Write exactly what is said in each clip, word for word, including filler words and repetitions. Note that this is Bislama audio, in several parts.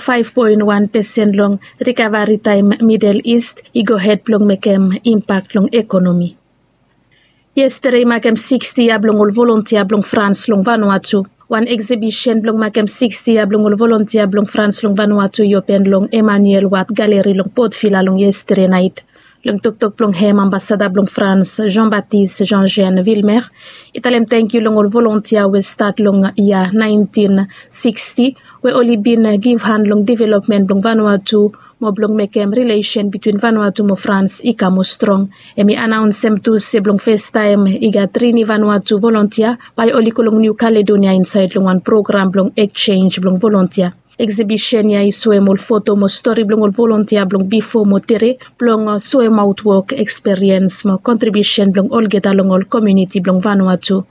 Faef poen wan pesen long rikavari taem Midel Ist i gohed blong mekem impak long ekonomi. Yestede i makem siksti yia blong ol volontia blong Frans long Vanuatu. Wan eksibisen blong makem siksti yia blong ol volontia blong Frans long Vanuatu i open long Emmanuel Ward Galeri long Port Vila long yestede naet. Long toktok blong hem, ambasada blong Frans, Jean Baptiste Jean Jean Vilmer, i talem tangkiu long ol volontia we stat long yia naentin siksti we oli bin givhan long developmen blong Vanuatu mo blong mekem rilesen bitwin Vanuatu mo Frans i kam moa strong. Hem i anaonsem tu se blong festaem i gat tri ni Vanuatu volontia bae oli go long Niu Kaledonia insaed long wan program blong eksenj blong volontia. Eksibisen ya i soem ol foto mo stori blong ol volontia blong bifo mo tede blong soem aotwok eksperiens mo kontribiusen blong olgeta long ol komiuniti blong Vanuatu.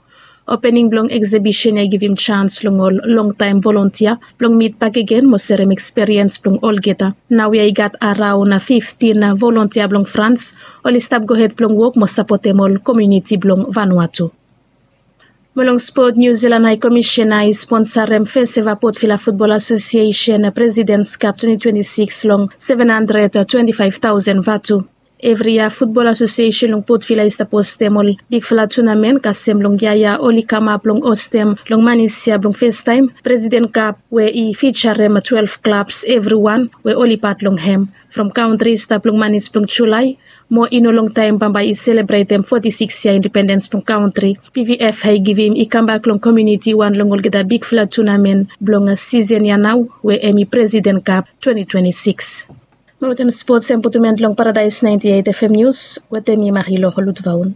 Opening blong eksibisen ya i givim jans long ol longtaem volontia blong mit bakegen mo serem eksperiens blong olgeta. Naoia i gat araon fiftin volontia blong Frans oli stap gohed blong wok mo sapotem ol komiuniti blong Vanuatu. Mo long spot, Niu Zilan Hae Komisen i sponsarem fes eva Port Vila Futbol Asosiesen Presidens Kap twenti twenti sikis long seven handred twenti faef taosen vatu. Evri yia Futbol Asosiesen long Port Vila i stap hostem ol bigfala tunamen, kasem long yia ya oli kamap long hostem long manis ya blong festaem Presiden Kap we i fijarem twelef klabs evriwan we oli pat long hem. From kantri i stap long manis blong Julae mo i no longtaem bambae i selebretem foti sikis yia independens blong kantri. Pvf i givim i kambak long komiuniti wan long olgeta bigfala tunamen blong sisen ya nao we hem i Presiden Kap twenti twenti sikis. Mo wetem spots hem putum en long Paradaes naenti eit FM Nius wetem mi Mariloro Lutvaun.